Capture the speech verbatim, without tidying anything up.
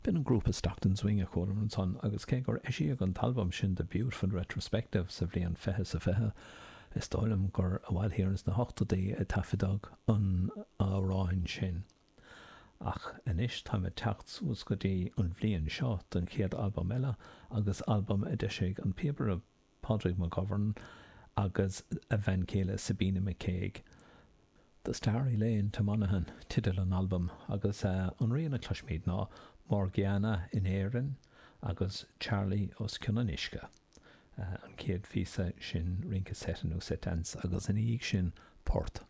B'in an grúpa Stockton's Wing a chualamar ansan agus cé gur eisíodh an t-albam sin The Beautiful Retrospective sa bhliain fiche is a fiche, is dóigh liom gur i bhfad thiar ins na hochtóidí a taifeadadh an amhrán sin. Ach anois táim ag teacht suas go dtí an bhliain seo don chéad albam eile agus albam a d'eisigh an píobaire Pádraig McGovern agus a bhean chéile Sabina McCague. The Starry Lane to Monaghan teideal an albaim agus an rian a chloisfimid ná Morgiana in Éirinn agus Charlie os cionn an uisce. An chéad phíosa sin rince seite nó set dance agus ina dhiaidh sin port.